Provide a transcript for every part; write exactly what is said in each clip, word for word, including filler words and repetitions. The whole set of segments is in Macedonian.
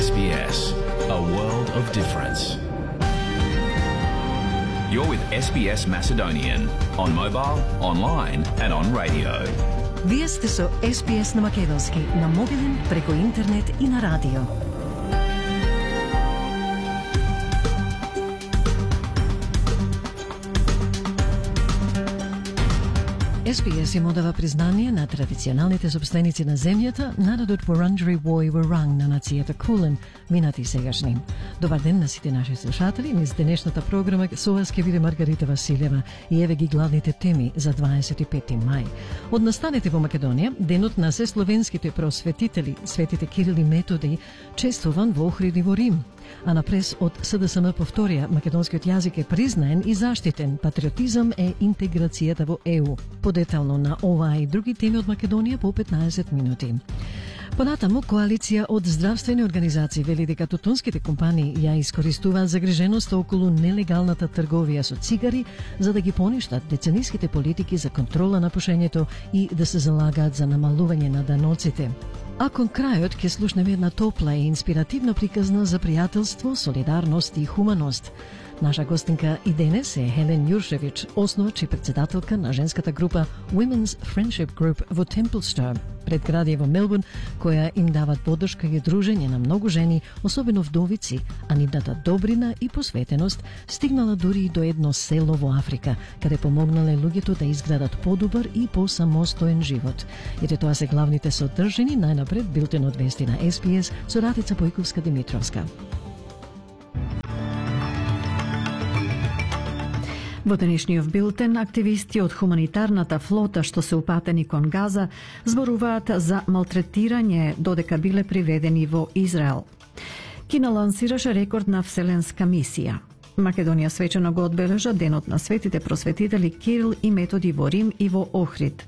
S B S, a world of difference. You're with S B S Macedonian on mobile, online and on radio. Вие сте со С Б С на македонски, на мобилен, преку интернет и на радио. С Б С им одава признание на традиционалните собственици на земјата, народот Вурунджери Woi Wurrung на нацијата Кулен, минати и сегашни. Добар ден на сите наши слушатели. Низ денешната програма со вас ќе биде Маргарита Василева и еве ги главните теми за дваесет и пети мај. Од настанете во Македонија, денот на сесловенските просветители, светите Кирил и Методи, чествуван во Охрид и во Рим. А на прес од С Д С М повторија, македонскиот јазик е признаен и заштитен, патриотизам е интеграцијата во Е У. Подетално на оваа и други теми од Македонија по петнаесет минути. Понатаму, коалиција од здравствени организации вели дека тутунските компании ја искористуваат загриженоста околу нелегалната трговија со цигари за да ги поништат децениските политики за контрола на пушењето и да се залагаат за намалување на даноците. А кон крајот ќе слушнеме една топла и инспиративна приказна за пријателство, солидарност и хуманост. Наша гостинка и денес е Хелен Јуршевич, основач и председателка на женската група Women's Friendship Group во Темплстон, предградие во Мелбурн, која им дават поддршка и дружење на многу жени, особено вдовици, а нивната добрина и посветеност стигнала дури и до едно село во Африка, каде помогнале луѓето да изградат подобар и посамостоен живот. Ете тоа се главните содржини, најнапред билтенот вести на С Б С со Ратица Појковска-Димитровска. Во денешниот билтен, активисти од хуманитарната флота што се упатени кон Газа зборуваат за малтретирање додека биле приведени во Израел. Кина лансираше рекордна вселенска мисија. Македонија свечено го одбележа денот на светите просветители Кирил и Методи во Рим и во Охрид.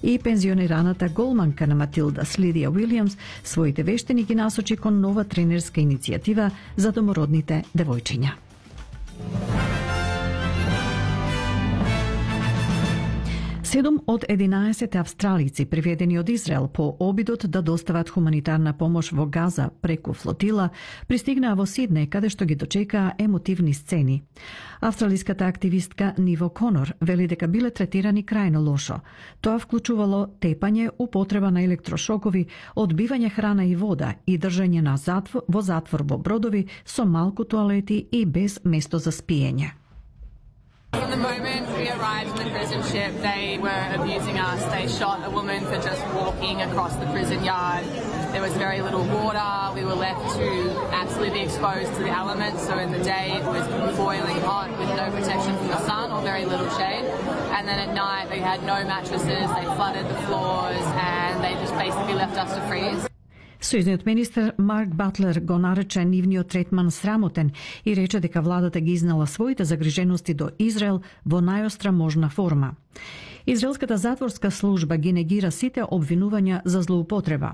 И пензионираната голманка на Матилда Слидија Уилијамс своите вештини ги насочи кон нова тренерска иницијатива за домородните девојчиња. Седум од единаесет австралици приведени од Израел по обидот да достават хуманитарна помош во Газа преку флотила, пристигнаа во Сиднеј, каде што ги дочекаа емотивни сцени. Австралиската активистка Ниво Конор вели дека биле третирани крајно лошо. Тоа вклучувало тепање, употреба на електрошокови, одбивање храна и вода и држање на затвор, во затвор во бродови со малку тоалети и без место за спиење. From the moment we arrived in the prison ship, they were abusing us. They shot a woman for just walking across the prison yard. There was very little water. We were left to absolutely be exposed to the elements. So in the day it was boiling hot with no protection from the sun or very little shade. And then at night they had no mattresses. They flooded the floors and they just basically left us to freeze. Сојузниот министер Марк Батлер го нарече нивниот третман срамотен и рече дека владата ги изнала своите загрижености до Израел во најостра можна форма. Израелската затворска служба ги негира сите обвинувања за злоупотреба.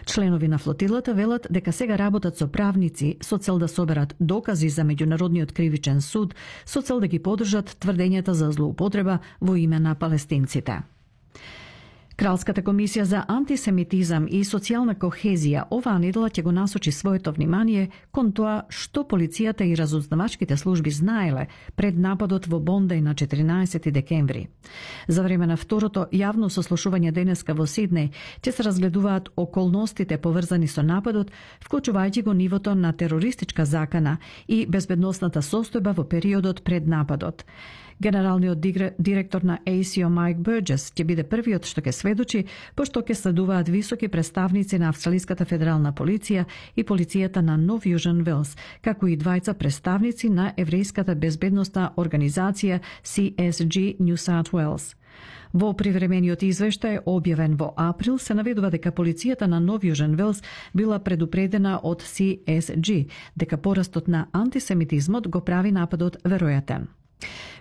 Членови на флотилата велат дека сега работат со правници со цел да соберат докази за меѓународниот кривичен суд, со цел да ги поддржат тврдењата за злоупотреба во име на палестинците. Кралската комисија за антисемитизам и социјална кохезија оваа недела ќе го насочи своето внимание кон тоа што полицијата и разузнавачките служби знаеле пред нападот во Бондај на четиринаесети декември. За време на второто јавно сослушување денеска во Сиднеј ќе се разгледуваат околностите поврзани со нападот, вклучувајќи го нивото на терористичка закана и безбедносната состојба во периодот пред нападот. Генералниот директор на А С О Майк Бурџес ќе биде првиот што ќе сведочи, пошто ќе следуваат високи представници на Австралиската федерална полиција и полицијата на Нов Јужен Велс, како и двајца представници на еврејската безбедносна организација С С Г New South Wales. Во привремениот извештај, објавен во април, се наведува дека полицијата на Нов Јужен Велс била предупредена од С С Г дека порастот на антисемитизмот го прави нападот веројатен.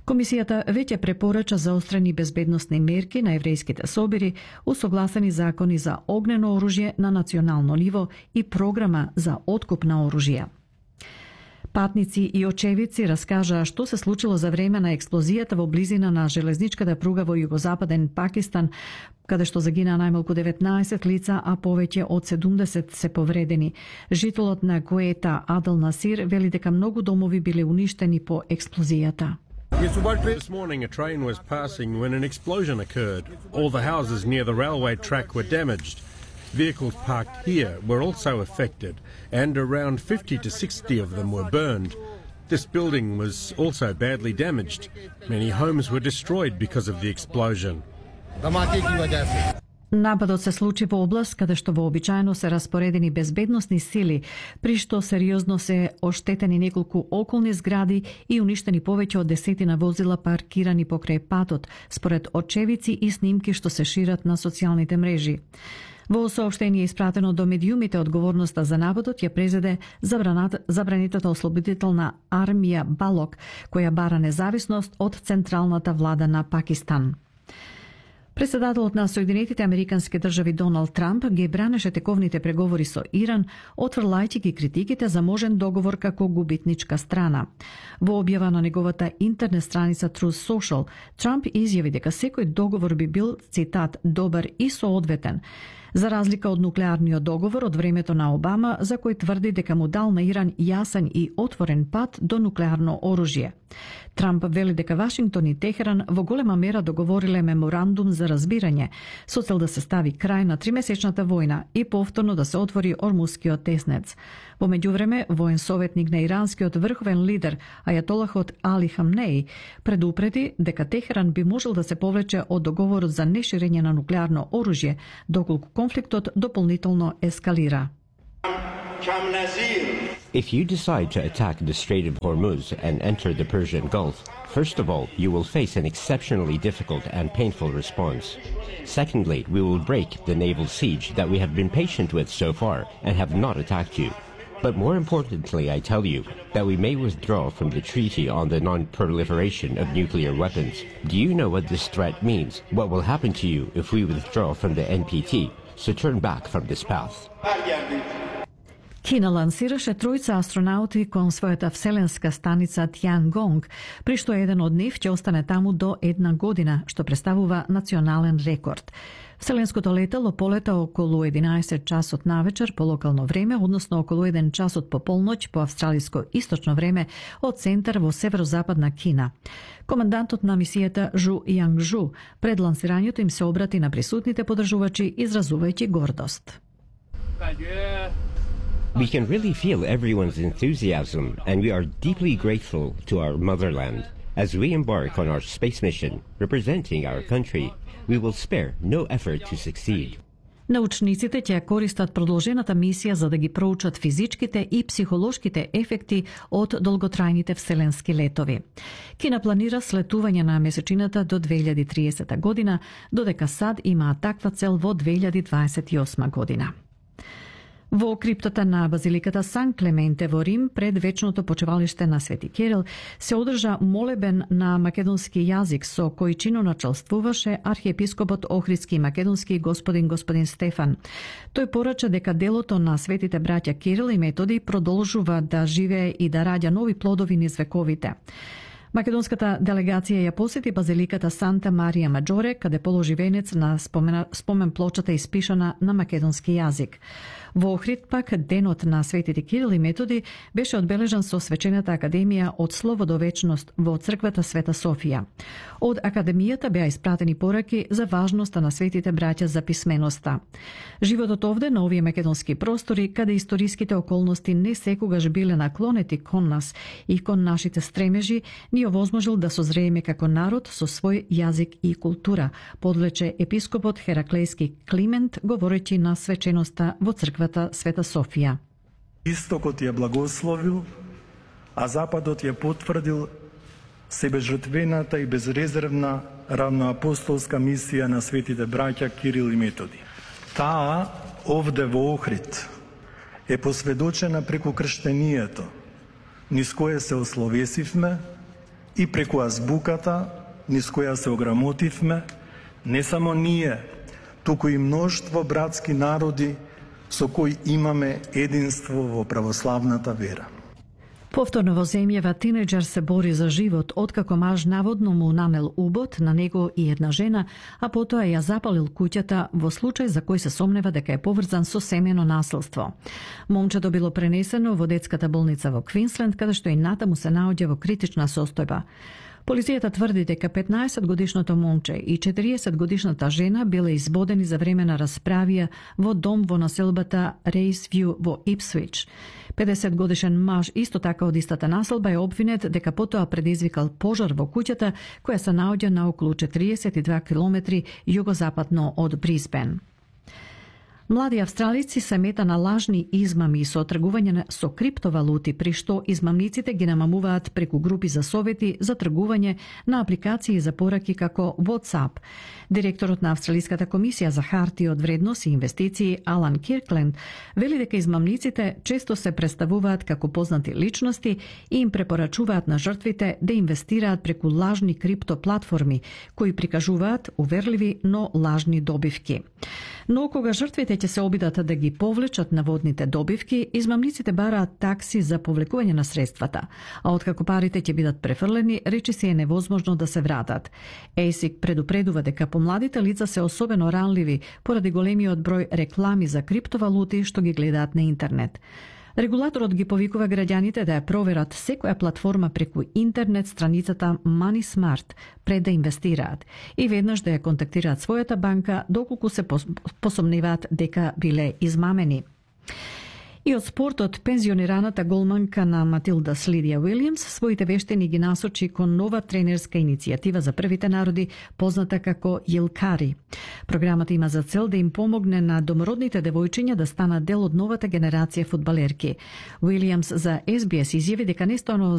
Комисијата веќе препорача заострени безбедносни мерки на еврејските собири, усогласени закони за огнено оружје на национално ниво и програма за откуп на оружје. Патници и очевидци раскажаа што се случило за време на експлозијата во близина на железничката пруга во југозападен Пакистан, каде што загинаа најмалку деветнаесет лица, а повеќе од седумдесет се повредени. Жителот на Куета Адел Насир вели дека многу домови биле уништени по експлозијата. This morning a train was passing when an explosion occurred. All the houses near the railway track were damaged. Vehicles parked here were also affected, and around fifty to sixty of them were burned. This building was also badly damaged. Many homes were destroyed because of the explosion. Нападот се случи во област каде што вообичаено се распоредени безбедносни сили, при што сериозно се оштетени неколку околни згради и уништени повеќе од десетина возила паркирани покрај патот, според очевидци и снимки што се шират на социјалните мрежи. Во соопштение испратено до медиумите, одговорноста за нападот ја презеде забранетата ослободителна армија Балок, која бара независност од централната влада на Пакистан. Председателот на Соединетите Американски држави Доналд Трамп ги бранеше тековните преговори со Иран, отфрлајќи ги критиките за можен договор како губитничка страна. Во објава на неговата интернет страница Truth Social, Трамп изјави дека секој договор би бил, цитат, добар и соодветен, за разлика од нуклеарниот договор од времето на Обама, за кој тврди дека му дал на Иран јасен и отворен пат до нуклеарно оружје. Трамп вели дека Вашингтон и Техеран во голема мера договориле меморандум за разбирање, со цел да се стави крај на тримесечната војна и повторно да се отвори Ормускиот теснец. Во меѓувреме, воен советник на иранскиот врховен лидер, ајатолахот Али Хамнеи, предупреди дека Техеран би можел да се повлече од договорот за неширење на нуклеарно оружје, доколку конфликтот дополнително ескалира. If you decide to attack the Strait of Hormuz and enter the Persian Gulf, first of all, you will face an exceptionally difficult and painful response. Secondly, we will break the naval siege that we have been patient with so far and have not attacked you. But more importantly, I tell you that we may withdraw from the Treaty on the Non-Proliferation of Nuclear Weapons. Do you know what this threat means? What will happen to you if we withdraw from the N P T? So turn back from this path. Кина лансираше тројца астронаути кон својата вселенска станица Тиангонг, при што еден од нив ќе остане таму до една година, што представува национален рекорд. Вселенското летало полета околу единаесет часот навечер по локално време, односно околу еден часот по полноќ по австралиско источно време од центар во северозападна Кина. Командантот на мисијата Жу Јангжу пред лансирањето им се обрати на присутните подржувачи, изразувајќи гордост. We can really feel everyone's enthusiasm, and we are deeply grateful to our motherland. As we embark on our space mission, representing our country, we will spare no effort to succeed. Научниците ќе користат продолжената мисија за да ги проучат физичките и психолошките ефекти од долготрајните вселенски летови. Кина планира слетување на месечината до две илјади и триесета година, додека САД имаа таква цел во две илјади дваесет и осма година. Во криптата на базиликата Сан Клементе во Рим, пред вечното почевалиште на Свети Кирил, се одржа молебен на македонски јазик со кој чино началствуваше архиепископот Охридски и македонски господин господин Стефан. Тој порача дека делото на светите браќа Кирил и Методи продолжува да живее и да раѓа нови плодови низ вековите. Македонската делегација ја посети базиликата Санта Марија Маджоре, каде положи венец на спомена, спомен плочата испишана на македонски јазик. Во Охрид пак денот на светите Кирил и Методи беше одбележан со свечената академија од слово до вечност во црквата Света Софија. Од академијата беа испратени пораки за важноста на светите браќа за писменоста. Животот овде на овие македонски простори, каде историските околности не секогаш биле наклонети кон нас и кон нашите стремежи, ни овозможил да созрееме како народ со свој јазик и култура, подлече епископот Хераклејски Климент, говорејќи на свеченоста во црквата Света Софија. Истокот ја благословил, а Западот ја потврдил себежртвената и безрезервна равноапостолска мисија на светите браќа Кирил и Методи. Таа овде во Охрид е посведочена преку крштенијето, низ кое се ословесивме, и преку азбуката, низ која се ограмотивме, не само ние, туку и мноштво братски народи со кои имаме единство во православната вера. Повторно во земјава тинеџер се бори за живот откако маж наводно му нанел убод на него и една жена, а потоа ја запалил куќата во случај за кој се сомнева дека е поврзан со семено насилство. Момчето било пренесено во детската болница во Квинсленд, каде што и натаму се наоѓа во критична состојба. Полицијата тврди дека петнаесет годишното момче и четириесет годишната жена биле избодени за време на расправија во дом во населбата Рейсвју во Ипсвич. педесет годишен маж исто така од истата населба е обвинет дека потоа предизвикал пожар во куќата која се наоѓа на околу четириесет и два километри југозападно од Брисбен. Млади австралици се мета на лажни измами со тргување со криптовалути, при што измамниците ги намамуваат преку групи за совети за тргување на апликации за пораки како WhatsApp. Директорот на Австралиската комисија за харти од вредност и инвестиции Алан Киркленд вели дека измамниците често се представуваат како познати личности и им препорачуваат на жртвите да инвестираат преку лажни криптоплатформи кои прикажуваат уверливи, но лажни добивки. Но кога жртвите ќе се обидат да ги повлечат наводните добивки, измамниците бараат такси за повлекување на средствата, а откако парите ќе бидат префрлени, речиси е невозможно да се вратат. ЕЙСИК предупредува дека помладите лица се особено ранливи поради големиот број реклами за криптовалути што ги гледаат на интернет. Регулаторот ги повикува граѓаните да ја проверат секоја платформа преку интернет страницата Money Smart пред да инвестираат и веднаш да ја контактираат својата банка доколку се посомневаат дека биле измамени. И од спортот, пензионираната голманка на Матилдас Лидија Уилјамс своите вештини ги насочи кон нова тренерска иницијатива за првите народи, позната како Јилкари. Програмата има за цел да им помогне на домородните девојчиња да станат дел од новата генерација фудбалерки. Уилјамс за Ес Би Ес изјави дека не станува